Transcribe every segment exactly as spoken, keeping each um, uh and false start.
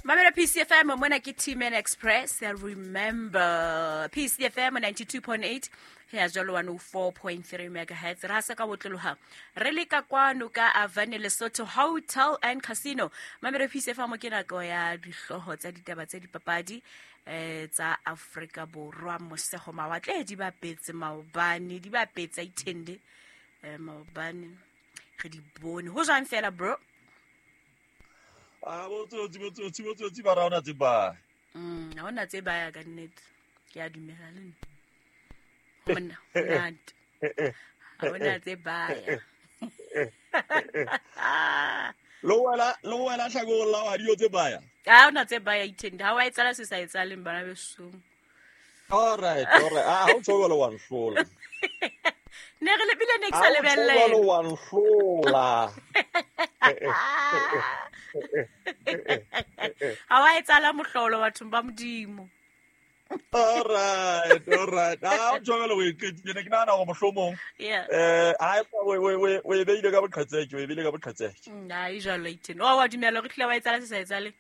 Mamela P C F M mona ke T-Man Express. Remember P C F M ninety-two point eight ya jalo one oh four point three megahertz. Ra sa ka botloloha re le ka kwano ka Avane Lesotho Hotel and Casino. Mamela P C F M ke nako ya dihlooho tsa ditaba tsa dipapadi eh tsa Afrika Borwa mosego mawatle di bapetse maobane di bapetse ithende eh maobane re di bone ho jwang fela bro. Ah botsotsi botsotsi botsotsi ba raona tse ba. Mm ha ona tse ba ya ka nnete. Ke a dumela le nna. Monna monate. Ha ona tse ba ya. Lo wela lo wela tlhako la wa dio tse ba ya. Ha ona tse ba ya ithende. Ha wa etsala se sa etsaleng bana besong. All right, all right. Ah ha o tshola wa nhlola. Ne re lebile ne ke sa lebella. Ha o wa nhlola. Ha wa etsala mohlolo bathong ba Modimo. All right, all right. Ah o tshola o iqetile ne ke nahana hore mohlomong. Yeah. Eh ha we we we we beile ka boqhetseke, we beile ka boqhetseke. Nna e jalo ithende. O wa dumela re tlile wa etsala se sa etsale.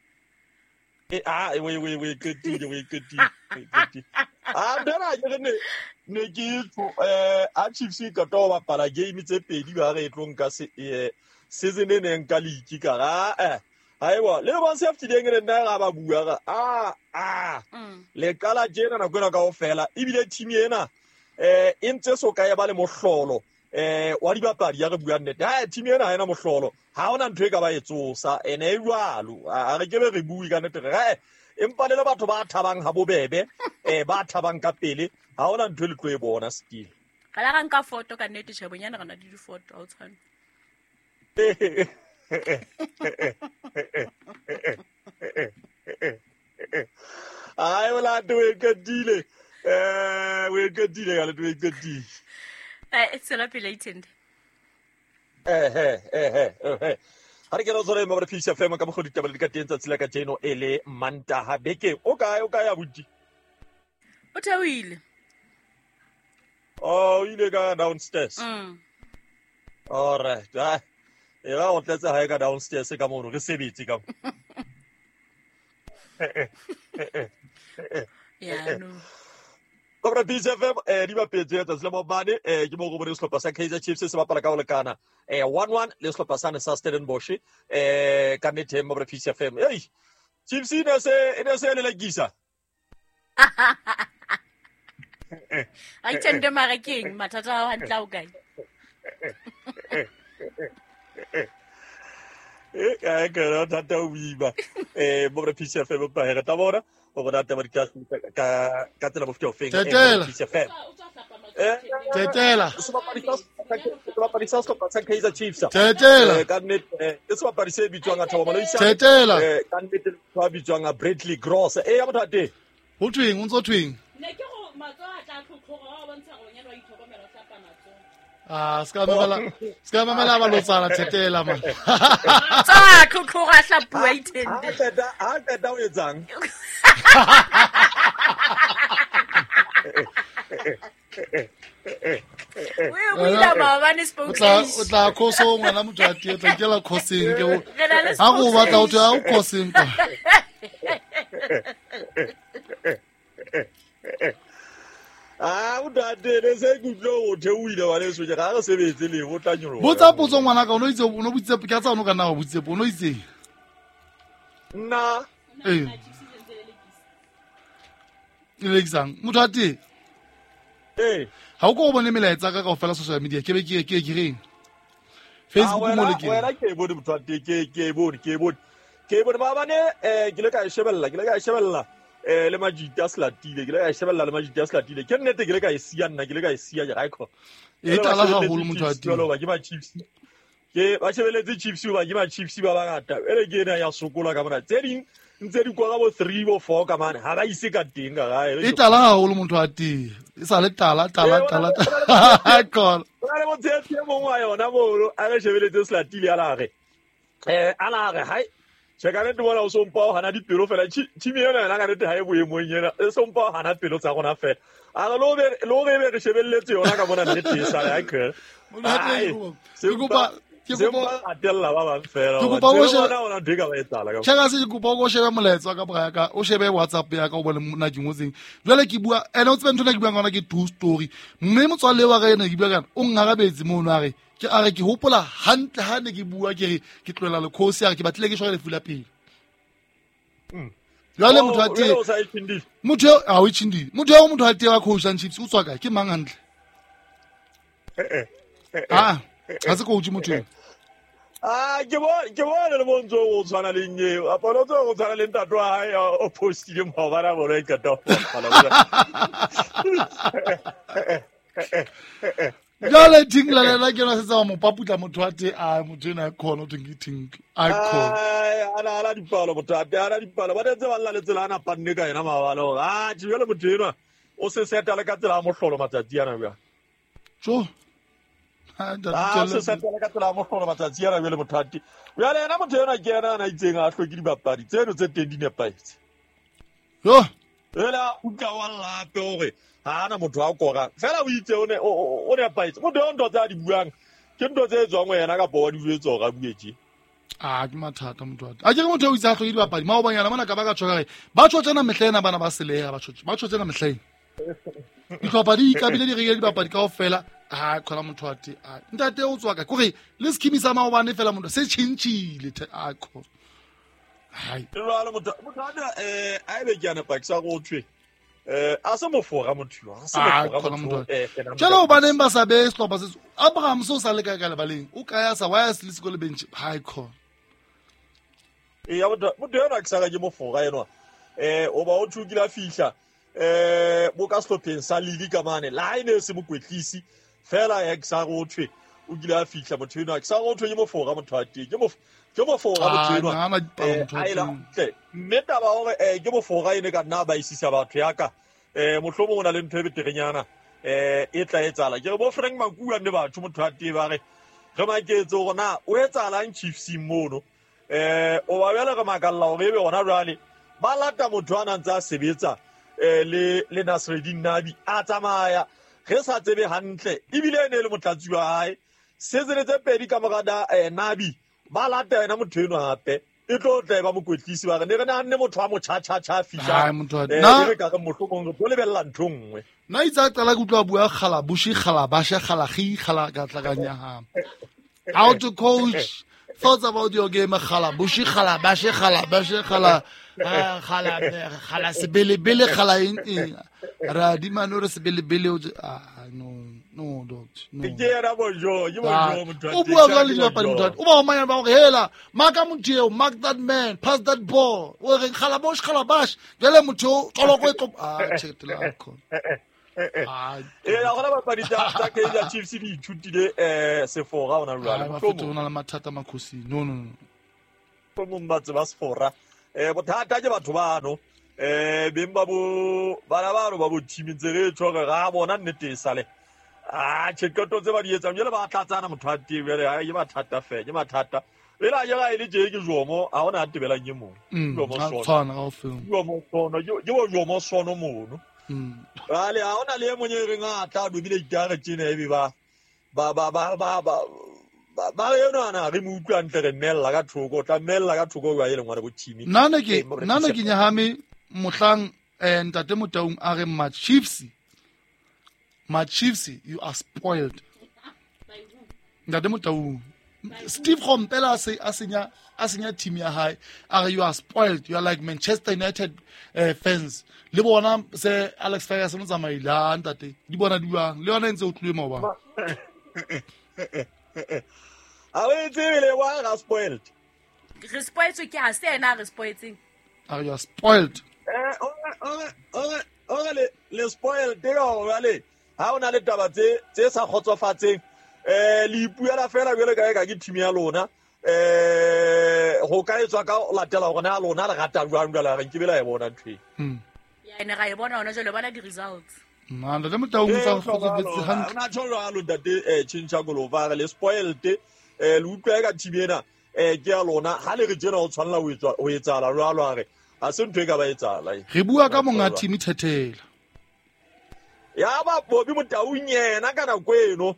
Eh ah we we we qetile we qetile we qetile. Ah dera ke ne ne ke tlo eh a Chiefs e ka to bapala game tse pedi ba re tlo nka se eh season e neng ka league ka ga eh haeba le ba se aftileng re nna ga ba bua ga ah ah le qala tjena nako ena kaofela ebile team ena eh e ntse so ka e ba le mohlolo eh wa dibapadi ya re bua nnete ha team ena ha ena mohlolo ha ona ntho e ka ba e tsosa ene e jwalo a re ke be re bue ka nnete re empa le batho ba thabang ha bobebe eh ba thabang ka pele ha ona ntho e le tlo e bona still ka la nka photo ka nnete tjhe bonyana re na le di photo ha o tshwane. Ai wala do e qetile eh we qetile ka le do e qetile eh tsela pele ithende eh eh eh eh ha re ke re tsore mo re P C F M ka mogodi taba le ka teng tsatsi la ka jeno e le Mantaha beke o kae o kae abuti o theohile oh ile ka downstairs mm all right ah e ba o tlatsa hae ka downstairs ka mono re sebetse ka yeah no Kobra P C F M eh di bapetse tsatsi la maobane eh ke mo go bone sehlopha sa Kaizer Chiefs se bapala ka ho lekana eh one one le sehlopha sa sa Stellenbosch eh ka nnete mo P C F M ei Chiefs ine se ine se le lekisa a ithende mara keng mathata a hantle o kae eh ka ka ra thata o biba eh mo P C F M pa re ta bona o bona taba di ka ka ka tsela bofto feng Tetela. P C F M eh Tetela. sebapadi sa sebapadi sa sehlopha sa Kaizer Chiefs Tetela. eh ka nnete ke sebapadi se bitswang a Thabo Moloisane Tetela. eh ka nnete ba bitswang a Bradley Gross eh ya motho ate ho thweng o ntso thweng ne ke go matsoho a tla tlhotlhoga wa bontsha gore nyana wa itlhokomela o hlapa matsoho ah ska mamela ska mamela ba lotsana Tetela man tsa tlhotlhoga hlapua ithende ha qeta ha qeta o etsang we buila maobane o tla o tla khoso ngwana motho a tie tla ikela khoseng ke o Re na le ha go batla o thwe ha o khoseng kwa ah o date se ke utlwe o theohile wa leso ke ga re sebetse le o tla nyoloha botsa potso ngwana ka o no itse o no botse ke a tsa o no ka nna wa botse o no itse nna eh e lekisang motho a teng eh ha o ko bone melaetsa ka kaofela social media ke be ke ke ke reng Facebook mo le ke wena ke bone motho a teng ke ke bone ke bone ke bone maobane eh ke le ka e shebella ke le ka e shebella eh le majita a Selatile ke le ka e shebella le majita a Selatile ke nnete ke le ka e siya nna ke le ka e siya ke ga ikho e tala haholo motho a teng jwalo ba ke ba Chiefs ke ba shebeletse Chiefs ba ke ba Chiefs ba bangata ere ke ena ya sokola ka mona tse ding ntse di kwa ka bo three bo four ka mane ha ba ise ka teng ka gae e tala haholo motho a teng e sa le tala tala tala tala ba le motho e mongwe wa yona mono a re shebeletse Selatile a la re eh a la re hai che ka nnete bona o sompa o hana dipelo fela team ena yona ka nnete ha e boemong ena e sompa o hana pelo tsa rona fela a re lo be lo be re shebelletse yona ka bona nnete e sale ha ke motho a teng ke kopa Ke kopa atella ba bang fela. Ke kopa o shebe ona ntho e ka ba etsahala ka. Check se ke kopa o shebe molaetsa ka bra ka o shebe WhatsApp ya ka o bone nna ke ngotseng. Jwale ke bua ene o tsebe ntho ena ke buang ka yona ke true story. Mme motswalle wa ka ena ke bua ka o ngarabetse mono a re ke a re ke hopola hantle ha ne ke bua ke re ke tlohela lekhosi a re ke batlile ke shwa lefu la pele. Jwale motho a teng motho a o itshindile motho eo motho a teng wa coach and Chiefs o tswa kae ke mang hantle eh eh ah ha se coach motho eo ah ke bona ke bona le bontso o tshwana le nnye a bona o tshwana le ntate wa hae o postile maobane a bona e qeta ho jwale Tinkler le ena ke yona setse wa mo paputla motho wa teng a motho ena a khona o thweng ke Tinkler a khona ana ana dipalo motho a teng ana dipalo ba ntse ba lla le tsela ana panne ka yena maobane hore ah jwale motho enwa o se seta le ka tsela ya mohlolo matsatsi ana bjang tjo ah se seta le ka tsela ya mohlolo matsatsi ana jwale motho a teng jwale yena motho enwa ke yena ana itseng a hloke dibapadi tseno tse teng di nepahetse yo ela o tla wa lape hore ha ana motho a kora fela o itse o ne o nepahetse motho eo ntho tse a di buang ke ntho tse tswang ho yena kapa wa di jwetsa hore a bue tje ah ke mathata motho wa a ke re motho o itse a hloke dibapadi maobanyana mona ka ba ka tjho ka re ba tjho tsena mehla ena bana ba seleha ba tjho ba tjho tsena mehla ena dihlopha di ikabile di rekile dibapadi kaofela ha khona motho wa teng a ntate o tswa ka kore le scheme sa maobane fela motho se tjhentjhile a khona hai jwale motho motho ana eh a ebe ke ana pakisa go thwe eh a se mofora motho a se mofora motho eh jalo hobaneng ba sa be sehlopha se Abraham so sa le kae ka lebaleng o kaya sa why se le sekolo bench hai khona e ya motho motho ena ke sa ke mofora enwa eh o ba o thukile fihla eh bo ka sehlopheng sa Lili ka mane la ene se mokwetlisi fela ya ke sa go thwe o kile a fihla motho enwa ke sa go thwe ke mofora motho a teng ke mo ke mofora motho enwa a ela tle mme taba hore eh ke mofora ene ka nna ba isisa batho ya ka eh mohlomong o na le ntho e beterenyana eh e tla etsahala ke re bo Frank Makua ne batho motho a teng ba re re maketse hore na o etsahalang Chiefs mono eh o ba bjale re makalla hore ebe hona jwale ba lata motho a nang tsa sebetsa eh le le Nasreddin Nabi a tsamaya re sa tsebe hantle ebile ene le motlatsi wa hae setsele tse pedi ka mora da eh, Nabi ba lata yena motho eno hape e tlo tla ba mokwetlisi ba re ne re nahanne motho wa motjha tjha tjha fihla eh re ka re mohlomong re tlo lebella ntho nngwe nna itse a qala ke utlwa bua kgala bushi kgala basha kgala gi kgala ka tla ka nyahama how to coach thoughts about your game kgala bushi kgala bashe kgala bashe kgala kgala kgala sebele bele kgala eng eng ra di mano re sebele bele ah no no doctor no ke yena bojo ke bojo motho o bua ka le dibapadi motho o ba o manya ba hore hela marka motho eo mark that man pass that ball o re kgala bosh kgala bash jwale motho toloko e tlo ah check it out ah e ya gona bapadi tsa tsa Kaizer Chiefs di ithutile eh sefora ona jwale mohlomong o na le mathata makhosi no no no mohlomong ba tseba sefora eh bothata ke batho bano eh beng ba bo bana bano ba bo team ntse re tjho re ra bona nnete e sale ah tjheketo tse ba di etsang jwale ba tlatsana motho a teng jwale ha ke mathata fe ke mathata ela jela e le tje ke jomo ha ona a tebelang ke mong jomo sono tshwana kaofela jomo sono ke bo jomo sono mono jwale ha ona le e mong e reng a tla dobile ditare tjena ebe ba ba ba ba ba ba ba eno ana re mo utlwa ntle re mmella ka thoko tla mmella ka thoko jwa e leng ngwana bo team nna ne ke nna ne ke nyahame mohlang eh ntate Motaung a re ma Chiefs ma Chiefs you are spoiled ntate Motaung Steve Kompela a se a senya a senya team ya hae a re you are spoiled you are like Manchester United uh, fans le bona se Alex Ferguson o tsamaile ntate di bona di bang le yona ntse o tluwe maobane a o tsebile wa ga spoiled re spoiled ke ha se ena re spoiletseng are you spoiled eh o o o le le spoiled ke go ha ona le taba tse tse sa kgotsofatseng eh le ipuela fela jwale ka ka ke team ya lona eh ho ka etswa ka latela hore na lona le rata jwang jwale re nke bela e bona ntho e ya ene ga e bona hona jwale bona di results nna ntate Motaung tsa kgotsofetse hantle ona tjho jwalo ntate eh tjhentjha kolova re le spoiled eh le utlwa ka team ena eh ke ya lona ha le re tjena ho tshwanela ho etswa ho etsahala jwalo a re ha se ntho e ka ba etsahala re bua ka monga team thethela ya ba Bobby Motaung yena ka nako eno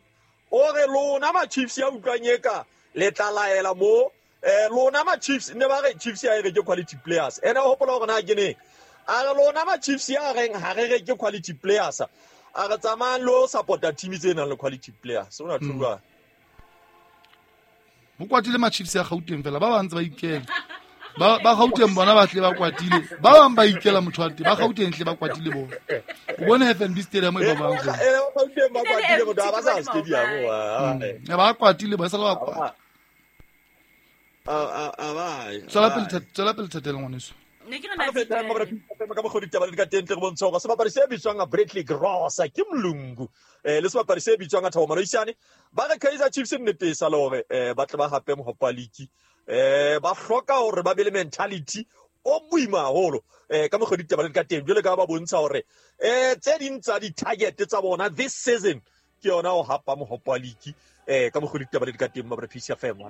o re lona ma Chiefs ya utlwang eka Le tla laela mo eh lona ma Chiefs ne ba re Chiefs ya re ke quality players. Ene o hopola hore na ke neng. A re lona ma Chiefs ya reng ha re re ke quality players. A re tsamayang lo support-a team tse nang le quality players. O na thulwa. Mo kwatile ma Chiefs ya Gauteng fela ba ba ntse ba ikela. Ba ba Gauteng bona ba tle ba kwatile. Ba bang ba ikela motho wa teng ba Gauteng tle ba kwatile bona. O bone F N B Stadium e ba bang. Eh Gauteng ba kwatile motho ha ba sa stadium wa. Ne ba kwatile ba sala ba kwata. A a a ba. Tswela pele tswela pele thatela ngwaneso. Ne ke rena feta mo re ka bogodi taba le ka teng tle re bontsha hore sebapadi se bitswang Bradley Gross ke mlungu eh le sebapadi se bitswang Thabo Moloisane ba re Kaizer Chiefs nnete sa le hore eh ba tle ba hape mohopa league eh ba hloka hore ba be le mentality o boima haholo eh ka mogodi taba le ka teng jwale ka ba bontsha hore eh tse ding tsa di target tsa bona this season ke yona ho hapa mohopa league eh ka mogodi taba le ka teng ba re P C F M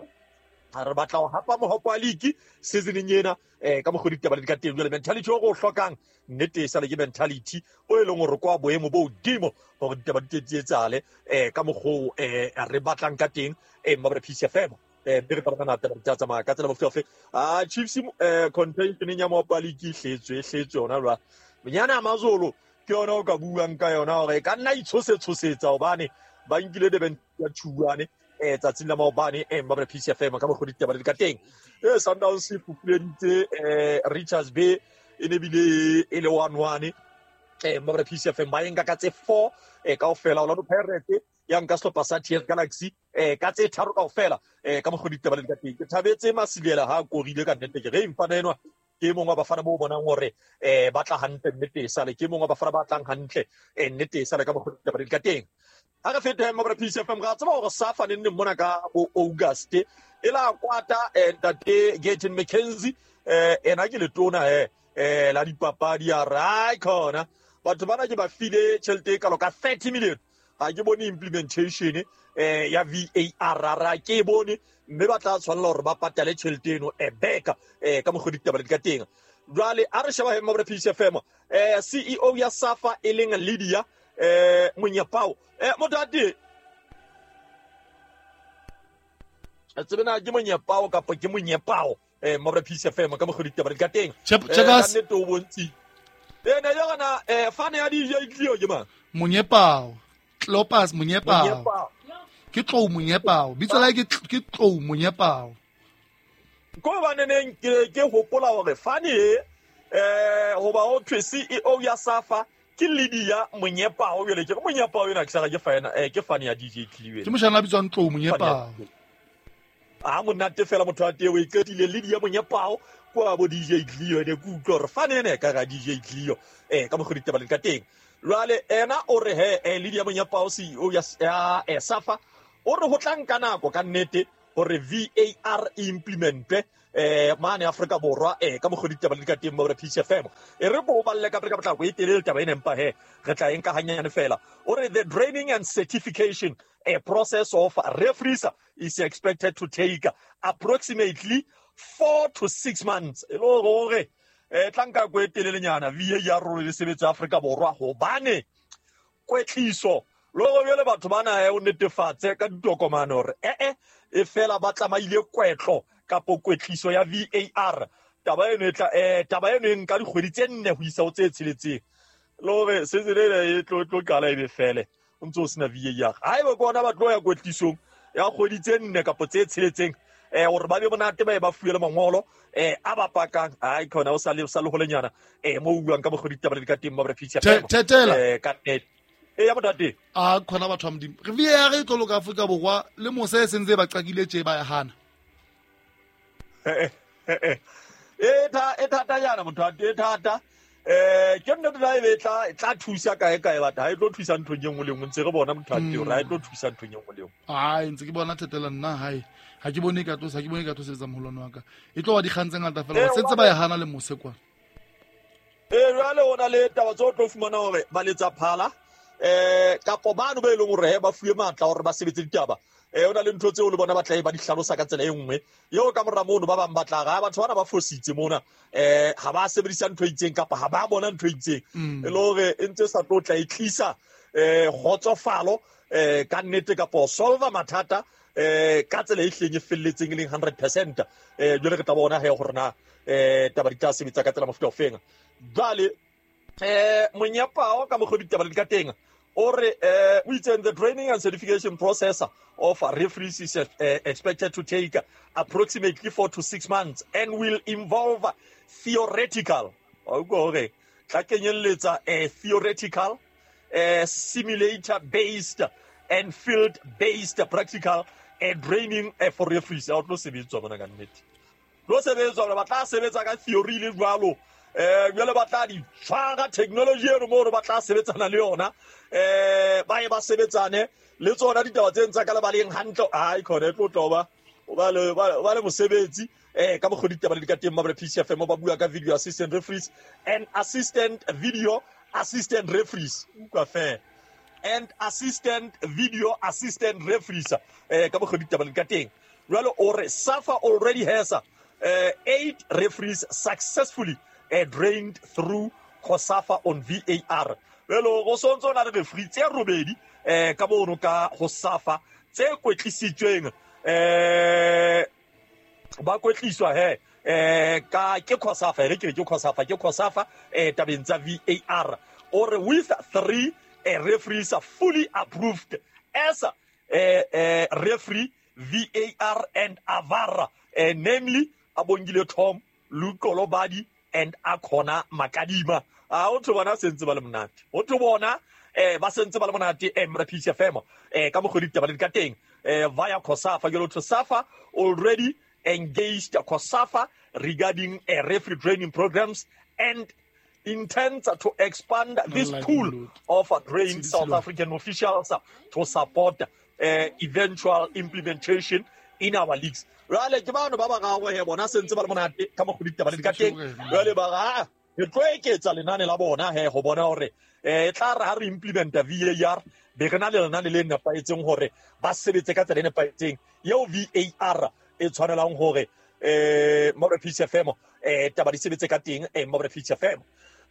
ha re batla ho hapa mohopa league seasoneng ena eh ka mogodi taba le ka teng jwale mentality o go hlokang nnete sa le ke mentality o e leng hore kwa boemo bo hodimo hore ditaba di etsale eh ka mogo eh re batlang ka teng eh mabra P C F M eh re tla bona taba tsa tsamaya ka tsela bofe ah Chiefs eh contention ya mohopa league hletswe hletswe yona jwa Banyana Amazulu ke yona o ka buang ka yona hore ka nna itshosetsosetsa hobane ba nkile Durban ya Tshwane eh tsatsing la maobane eh mabra P C F M ka mogodi taba le ka teng eh Sundowns e fupuleditse eh Richards Bay e ne bile e le one one eh mabra P C F M ba enka ka tse four eh kaofela Orlando Pirates ya nka sehlopha sa T S Galaxy eh ka tse tharo kaofela eh ka mogodi taba le ka teng ke thabetse Masilela ha korile ka nnete ke re mfana enwa ke mongwe wa bafana bo bonang hore eh ba tla hantle nnete sale ke mongwe wa bafana ba tlang hantle eh nnete sale ka mogodi taba le ka teng ha re fete mabra P C F M ga tseba hore Safa ne nne mona ka bo August e la kwata ntate Gayton McKenzie eh ena ke letona eh eh la dipapadi ya ra khona batho bana ke ba file tjhelete ka loka thirty million ha ke bone implementation eh ya V A R ra ke bone mme ba tla tshwanela hore ba patale tjhelete eno e beka eh ka mogodi taba le ka teng jwale a re sheba mabra P C F M eh C E O ya Safa e leng Lydia eh Monyepao eh motate a tsebena ke Monyepao kapa ke Monyepao eh mabra P C F M ka mogodi taba le ka teng check us eh o bontsi eh na yona eh fane ya D J Cleo ke mang Monyepao Klopas Monyepao ke Tlou Monyepao bitso la ke ke Tlou Monyepao ko ba neneng ke ke hopola hore fane eh hoba o thwe C E O ya Safa ke Lydia Monyepao jwale ke Monyepao yena ke sala ke fana eh ke fane ya D J Cleo ke moshana bitswang Tlou Monyepao a monate fela motho wa teng o iqetile Lydia Monyepao kwa bo D J Cleo ne ke utlwa hore fane ene ka ga D J Cleo eh ka mogodi taba le ka teng jwale ena o re he eh Lydia Monyepao C E O ya ya Safa o re ho tla nka nako ka nnete hore V A R implemente eh mane Afrika Borwa eh ka mogodi taba le ka teng mo P C F M e re bo balle ka ka potlako e telele taba ena empa he re tla enka hanyane fela o re the training and certification a process of referees is expected to take approximately four to six months e lo hore eh tla nka go e telelenyana V A R le sebetsa Afrika Borwa hobane kwetliso lo go bjale batho bana e o netefatse ka ditokomane hore eh eh e fela ba tlamaile kwetlo kapo kwetliso ya V A R taba eno e tla eh taba eno e nka dikgwedi tse nne ho isa ho tse tsheletseng le hore season ena e tlo tlo qala ebe fele o ntso sena V A R haeba ke ona ba tlo ya kwetlisong ya kgwedi tse nne kapo tse tsheletseng eh hore ba be monate ba e ba fuwe le mangolo eh a ba pakang ai khona o sa le sa le holenyana eh mo buang ka bogodi taba le ka teng ba re feature eh ka net e ya motate a khona batho ba modimo re V A R e tlo loka Afrika Borwa le mose e sentse ba qakile tje ba ya hana eh eh e tha e thata yana motho a e thata eh ke nne tla e tla tla thusa kae kae batho ha e tlo thusa nthong e nngwe le nngwe ntse re bona motho a teng hore ha e tlo thusa nthong e nngwe le nngwe ai ntse ke bona thetela nna hae ha ke bone ka tlo ha ke bone ka tlo sebetsa moholwane wa ka e tlo ba dikgang tse ngata fela sentse ba ya hana le mose kwa eh jwale hona le taba tso tlo fumana hore ba letsa phala eh kapo bano ba e leng hore ba fuwe matla hore ba sebetse ditaba eh ona le ntho tseo le bona ba tla e ba di hlalosa ka tsela e nngwe eo ka mora mono ba bang ba tla ga batho bana ba fositse mona eh ha ba sebedisa ntho e itseng kapa ha ba bona ntho e itseng e le hore e ntse sa tlo tla e tlisa eh kgotsofalo eh ka nnete kapo solve mathata eh ka tsela e hleng e felletseng e leng hundred percent. Eh jwale re tla bona he hore na eh taba di tla sebetsa ka tsela mofuta ofeng. Jwale eh Monyepao ka mokgwa ditaba di ka teng o re eh o itse the training and certification process of referees is uh, expected to take approximately four to six months and will involve theoretical o go re tla kenyelletsa a theoretical uh, simulator based and field based practical and training uh, for referees. A tlo sebetswa mona ka nnete, tlo sebetswa ba tla sebetsa ka theory le jwalo eh jwale ba tla di tshwara technology eno mo ba tla sebetsana le yona eh ba ye ba sebetsane le tsona ditaba tse ntsa ka lebaleng hantle. Ai khona e tlo tloba o ba le ba le mosebetsi eh ka mokgwa ditaba le di ka teng mabra P C F M ba bua ka video assistant referees and assistant video assistant referees utlwa fela and assistant video assistant referees eh ka mokgwa ditaba le di ka teng. Jwale o re SAFA already has uh, eight referees successfully uh, drained through COSAFA on V A R. Jwale go sontso na le referee tse robedi eh ka mono ka go SAFA tse kwetlisitsweng eh ba kwetliswa he eh ka ke COSAFA re ke ke COSAFA ke COSAFA eh tabeng tsa V A R. Or with three eh, referees are fully approved as eh, eh, referee V A R and AVAR, eh, namely Abongile Tom, Lukolo Badi and Akona Makadima. A o tlo bona sentse ba le monate, o tlo bona eh ba sentse ba le monate eh mra P C F M eh ka mokgwa ditaba le ka teng eh via COSAFA. Jalo to SAFA already engaged COSAFA regarding uh, referee training programs and intends to expand this pool of uh, trained South African officials uh, to support uh, eventual implementation in our leagues. Jwale ke bano ba ba gagwe he bona sentse ba le monate ka mokgwa ditaba le ka teng. Jwale ba ga re tlo eketsa lenane la bona he go bona hore eh tla re ha re implementa V A R be re na le lenane le nepahetseng hore ba sebetse ka tsela e nepahetseng eo V A R e tshwanelang hore eh Mabra P C F M eh taba di sebetse ka teng eh Mabra P C F M.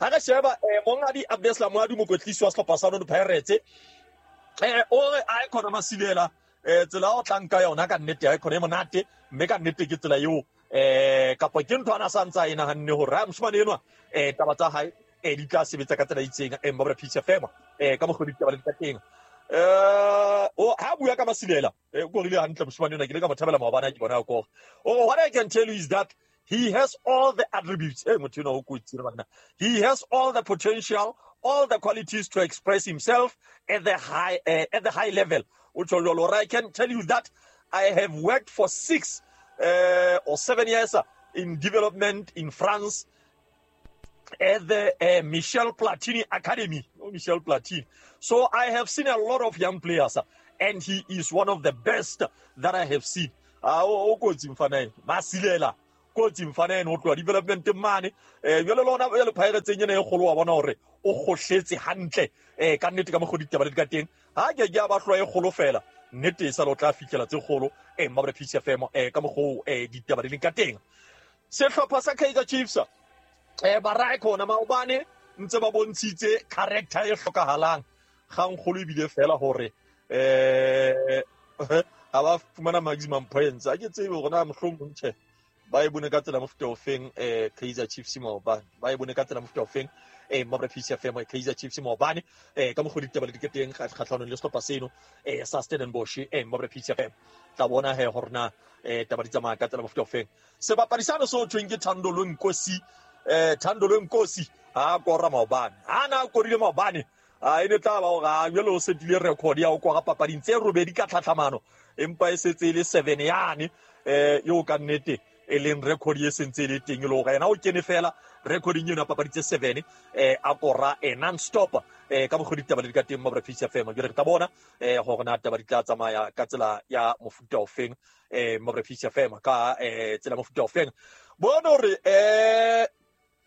Ha re sheba eh mongadi Abdeslam Moadu mokwetlisi wa sehlopha sa Orlando Pirates eh o re a khona Masilela eh tsela o tlang ka yona ka nnete ha e khona e monate mme ka nnete ke tsela eo eh kapa ke ntho ana sa ntsa e nahanne hore ha moshemane enwa eh taba tsa hae eh di tla sebetsa ka tsela e itseng eh Mabra P C F M eh ka mokgwa ditaba le ka teng. Eh o ha bua ka Masilela eh o korile hantle moshemane enwa ke le ka mo thabela maobane ke bona ko o what I can tell you is that he has all the attributes eh motho enwa o kotsi re bana he has all the potential, all the qualities to express himself at the high uh, at the high level. I can tell you that I have worked for six uh, or seven years in development in France at the uh, Michel Platini Academy. Oh, Michel Platini. So I have seen a lot of young players, and he is one of the best that I have seen. Ah, o kotsi mfana Masilela kotsi mfana eno tloa development mane eh jwale lona jwale Pirates ena e kgolo wa bona hore o kgohletse hantle eh ka nnete ka mokgwa ditaba le ka teng ha ke ke ba tloa e kgolo fela nnete e sa lo tla fihlela tse kgolo eh Mabra P C F M eh ka mokgwa eh ditaba le ka teng. Sehlopha sa Kaizer Chiefs eh ba ra khona maobane ntse ba bontshitse character e hlokahalang gang kgolo ebile fela hore eh ha ba fumana maximum points a ke tsebe hore na mohlomong tjhe ba e bone ka tsela mofuta ofeng eh Kaizer Chiefs maobane ba e bone ka tsela mofuta ofeng eh Mabra P C F M Kaizer Chiefs maobane eh ka mokgwa ditaba le diketeng kgatlhanong le sehlopha seno eh sa Stellenbosch eh Mabra P C F M tla bona he hore na eh taba di tsamaya ka tsela mofuta ofeng. Sebapadi sano so thweng ke Thando Nkosi eh Thando Nkosi ha kora maobane ha na korile maobane a ene tla ba hore a jwale o setile record ya o kora papading tse robedi ka tlhatlhamano empa e setse e le seven yane eh yo ka nnete e leng record e sentse le teng le hore yena o kene fela recording eno ya papadi tse seven eh a kora e non stop eh ka mokgwa ditaba le di ka teng Mabra P C F M. Jwale re tla bona eh hore na taba di tla tsamaya ka tsela ya mofuta ofeng eh Mabra P C F M ka eh tsela mofuta ofeng. Bona hore eh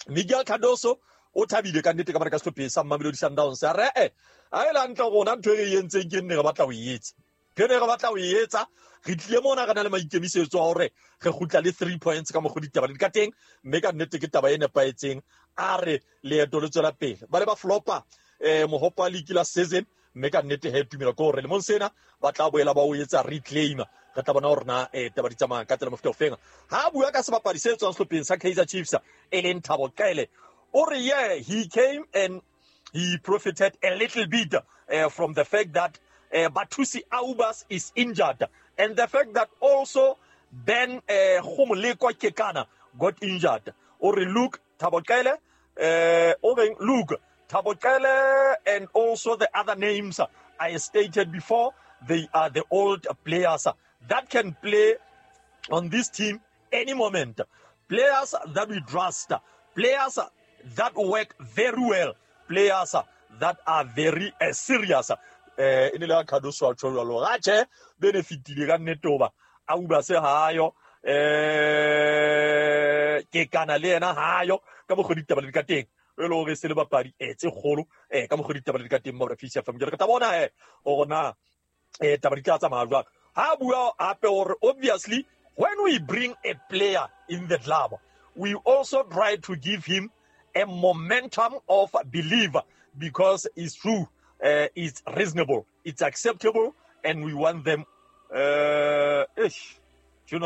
Miguel Cardoso o thabile ka nnete ka mara ka sehlopha sa Mamelodi Sundowns a re eh a e lantle rona ntho e re entseng ke nne re batla ho e etsa ke ne re batla ho e etsa re tlile mona re na le maikemisetso a hore re kgutla le three points ka mokgwa ditaba le ka teng mme ka nnete ke taba e nepahetseng. A re leeto le tswela pele ba le ba flopa eh mohopa league la season Mme ka nnete he tumelo ke hore lemong sena ba tla boela ba o etsa reclaim. Re tla bona hore na eh taba di tsamaya ka tsela mofuta ofeng. Ha bua ka sebapadi se tswang sehlopheng sa Kaizer Chiefs e leng Thabo Cele, o re yeah, he came and he profited a little bit uh, from the fact that uh, Batusi Aubas is injured, and the fact that also Ben uh, Khomoleko Kekana got injured. O re look, Thabo Cele, uh, o re look, Thabo Cele and also the other names I stated before, they are the old players that can play on this team any moment. Players that we trust, players that work very well, players that are very uh, serious. Eh e ne le Cardoso a tjho jwalo. Ha tjhe benefitile ka nnete hoba Auba se hayo, eh Kekana le yena hayo ka mokgwa ditaba le ka teng. E le hore se le bapadi eh tse kgolo eh ka mokgwa ditaba le ka teng mo Peace F M. Ke re tla bona eh hore na eh taba di tla tsamaya jwang. Ha bua hape hore obviously when we bring a player in the club, we also try to give him a momentum of belief, because it's true, uh, it's reasonable, it's acceptable, and we want them. Uh, ish, uh,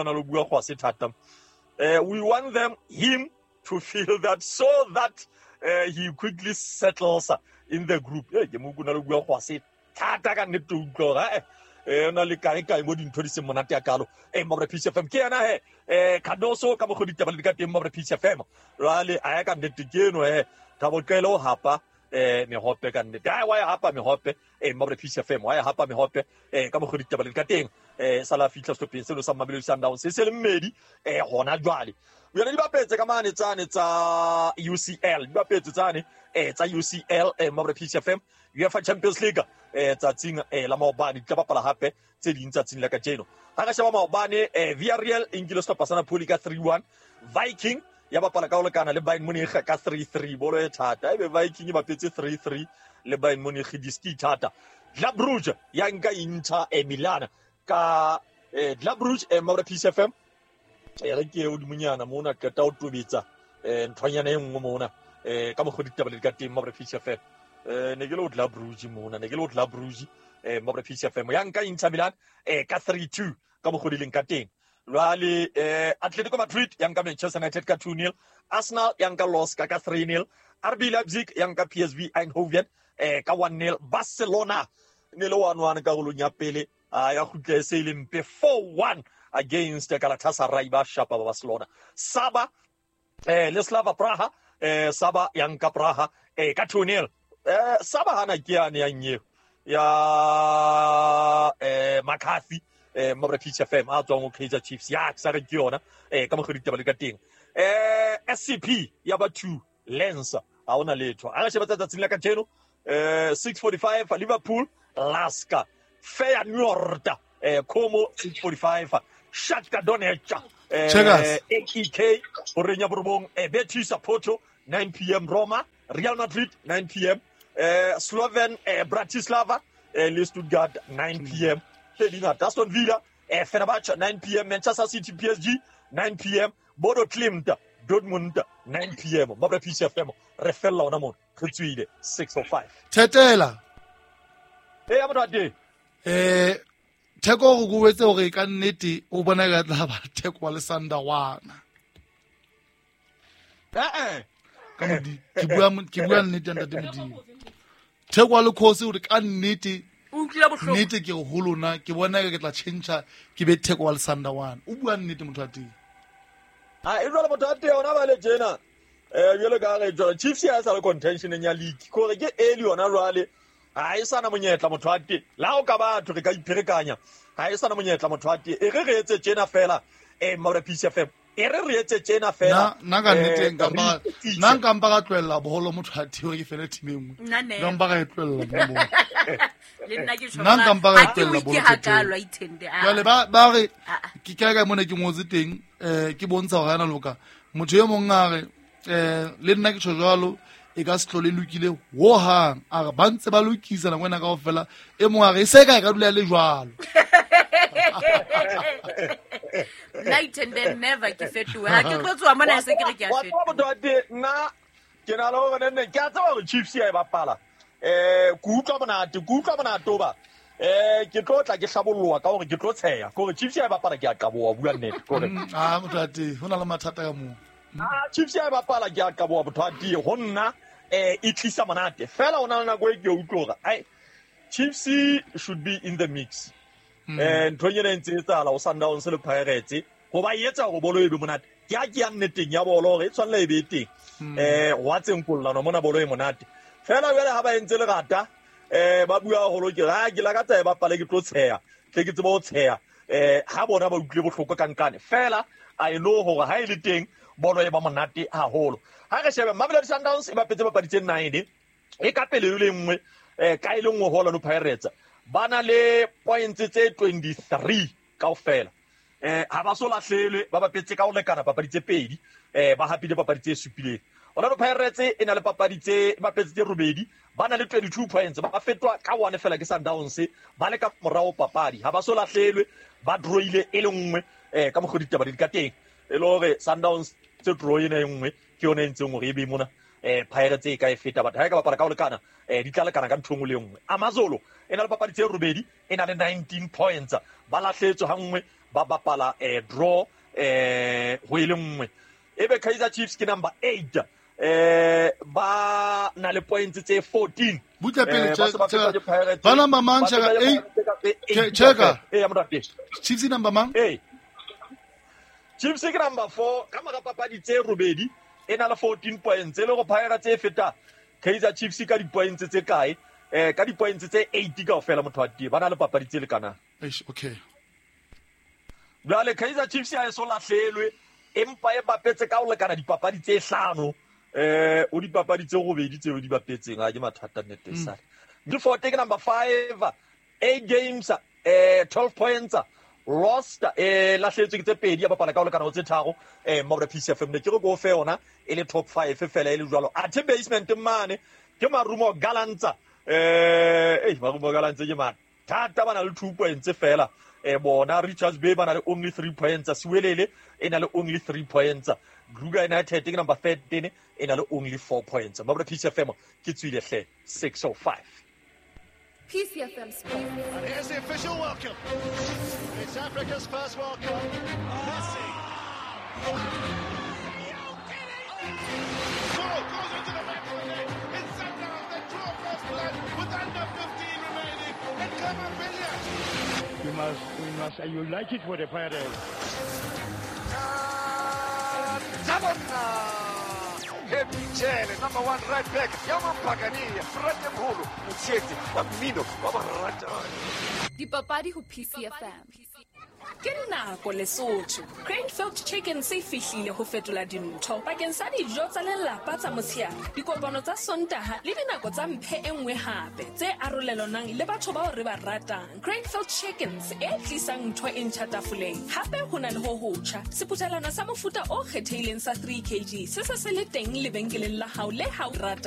we want them, him, to feel that, so that uh, he quickly settles in the group. Eh na le kae kae mo dintho di seng monate ya kalo eh mo Peace F M ke yena he eh Cardoso ka mokgwa ditaba le ka teng mo Peace F M jwale a ya ka nnete ke eno he Thabo Cele o hapa eh mehope ka nnete ai wa ya hapa mehope eh mo Peace F M wa ya hapa mehope eh ka mokgwa ditaba le ka teng eh sala fihla stopping seno sa Mamelodi Sundowns se se le mmedi eh hona jwale yona di bapetse ka mane tsane tsa U C L di bapetse tsane eh tsa U C L eh mo Peace F M UEFA Champions League eh tsatsing eh la maobane di tla bapala hape tse ding tsatsing la kajeno. Ha ka sheba maobane eh Villarreal e nkile sehlopha sa Napoli ka three one, Viking ya bapala ka ho lekana le Bayern Munich ka three three, bolo e thata ebe Viking e bapetse three three le Bayern Munich diski thata. Club Brugge ya nka Inter e Milan ka eh Club Brugge eh mo Peace F M e re ke o dimonyana mona qeta o tobetsa eh nthwanyana e nngwe mona eh ka mokgwa ditaba le ka teng mo Peace F M. Eh ne ke lo Club Brugge mona ne ke lo Club Brugge eh mo Peace F M ya nka Inter Milan eh ka three two ka mokgwa di leng ka teng. Jwale eh Atletico Madrid ya nka Manchester United ka two nil, Arsenal ya nka Loska ka three nil, R B Leipzig ya nka P S V Eindhoven eh ka one nil, Barcelona ne le one one karolong ya pele a ya kgutla se ile mpe four one against Galatasaray ba shapa ba Barcelona. Saba eh le Slava Praha eh Saba ya nka Praha eh ka two nil. Eh Saba hana ke yane ya nyeo ya eh McCarthy eh mo Peace F M a tswang ho Kaizer Chiefs ya ke sa re ke yona eh ka mokgwa ditaba le ka teng. Eh S C P ya ba two Lens ha ona letho. A re sheba tsatsing la kajeno eh six forty-five Liverpool Laska Feyenoord eh Como six forty-five Shakhtar Donetsk eh A E K Orenya Borobong eh Betis Porto nine p m Roma Real Madrid nine p m eh Sloven eh, Bratislava eh, le Stuttgart nine p m tse dingata Aston Villa eh, Fenerbahce nine p m Manchester City P S G nine p m Bodo Glimt Dortmund nine p m Mabra P C F M re fella ona mona re tswile six oh five Thetela eh ya motho eh Theko go go wetse hore ka nnete o bona ka tla ba Theko wa le Sandawana eh eh ka modi ke bua ke bua nnete ntate Modimo Theko wa le khosi hore ka nnete o utlwile bohloko nnete ke ho lona ke bona ke tla change ke be Theko wa le Sandawana o bua nnete motho wa teng ha e jwale motho wa teng ona ba le tjena eh jwale ka re jwale Chiefs ya sa le contention ya league kore ke early yona jwale ha e sana monyetla motho wa teng la o ka batho re ka ipherekanya ha e sana monyetla motho wa teng e re re etse tjena fela eh Mabra P C F M e re re etse tjena fela na ka nnete nka ba nna nka mpa ka tlohella boholo motho wa teng ke fele team e nngwe nka mpa ka e tlohella mo le nna ke nna nka mpa ka e tlohella boholo ke hakalo ithende a jwale ba ba re ke ka ka mona ke ngotse teng eh ke bontsha hore ana loka motho e mong a re eh le nna ke tjho jwalo e ka se tlole lokile ho hang a re ba ntse ba lokisa nako ena kaofela e mong a re e se ka e ka dula le jwalo night and then never ke fetoha ha ke tlo tswa mona se ke re ke a fetoha motho wa teng nna ke na le hore nne ke a tseba hore Chiefs ya e bapala Eh ke utlwa monate, ke utlwa monate hoba eh ke tlo tla ke hlabolloa ka hore ke tlo tsheya. Ke hore Chiefs ya e bapala ke a qaboha, bua nnete. Ke hore Ah, motho a teng, ho na le mathata ka moo. Ah, Chiefs ya e bapala ke a qaboha motho a teng. Ho nna eh e tlisa monate. Fela ho na le nako e ke utlwa hore ai Chiefs should be in the mix. Eh ntho ena e ntse e etsahala ho Sundowns le Pirates ho ba etsa hore bolo e be monate. Ke a ke ya nneteng ya bolo hore e tshwanela e be teng. Eh wa tse nkollano mona bolo e monate. Fela jwale ha ba entse lerata eh ba bua haholo ke ha ke lakatsa e bapale ke tlo tsheya. Tle ke tsebe ho tsheya. Eh ha bona ba utlwile bohloko ka nkane. Fela I know hore ha e le teng bolo e ba monate haholo. Ha re shebe Mamelodi Sundowns e bapetse papadi tse nine e ka pele e le nngwe eh ka e le nngwe ho Orlando Pirates. Ba na le points tse twenty-three kaofela. Eh ha ba so lahlelwe, ba bapetse ka ho lekana papadi tse pedi, eh ba hapile papadi tse supileng. Orlando Pirates e na le papadi tse bapetse tse robedi, ba na le twenty-two points, ba fetwa ka one fela ke Sundowns, ba le ka morao papadi. Ha ba so lahlelwe, ba drawile e le nngwe eh ka mokgwa ditaba di ka teng. E le hore Sundowns tse draw ena e nngwe ke yona e ntseng hore e be mona eh Pirates e ka e feta, but ha e ka bapala ka ho lekana eh di tla lekana ka ntho e nngwe le e nngwe. Amazulu e na le papadi tse robedi, e na le nineteen points, ba lahletswe ha nngwe, ba bapala eh draw eh ho e le nngwe. Ebe Kaizer Chiefs ke number eight eh ba na le points tse fourteen. Butle pele, Eh, ba se ba fetwa ke Pirates. ba number mang, Ba Cheka? fetwa ke Eight. Pirates ka tse eight Cheka. Eh, ya morape. Chiefs number mang? Eh. Chiefs ke number four ka mora papadi tse robedi, e na le fourteen points. E le hore Pirates e feta Kaizer Chiefs ka di-points tse kae? Eh ka di-points tse eight kaofela motho wa teng. Ba na le papadi tse lekanang. Eish, okay. Jwale Kaizer Chiefs ha e so lahlelwe, empa e bapetse ka ho lekana dipapadi tse hlano. Eh o dipapadi tse robedi tseo di bapetseng, ha ke mathata nnete Mm. sale. Milford ke number five, eight games, eh twelve points, lost, eh lahletswe ke tse pedi, ya bapala ka ho lekana ho tse tharo, eh Mabra P C F M ne ke re go fe yona e le top five fela e le jwalo. Athe basement mane ke Marumo Gallants, eh eh Marumo Gallants ke mathata, ba na le two points fela. Eh bona Richards Bay ba na le only three points, Siwelele e na le only three points, Kruger United ke number thirteen e na le only four points. Mabra P C F M ke tswile hle six oh five. P C F M Sports. And here's the official welcome. It's Africa's first World Cup. Messi. Ball goes into the back of the net. It's Sundowns that draw first blood with under fifteen remaining. And Khama Billiat. We must, we must, you like it for the Pirates. Happy number one right back, Yaman Pagani, Fratemholo, Motshete, wa mmino, wa baratani. Dipapadi ho P C F M. Ke nako Lesotho. Cranefield Chicken se fihlile ho fetola dintho bakeng sa dijo tsa lelapa tsa motshehare, dikopano tsa Sontaha le dinako tsa mphe e nngwe hape tse arolelanang le batho bao re ba ratang. Cranefield Chickens e tlisang ntho e ntjha tafoleng. Hape ho na le ho hotjha, seputhelwana sa mofuta o kgethehileng sa three K G se se se le teng lebenkeleng la hao le ha o rata.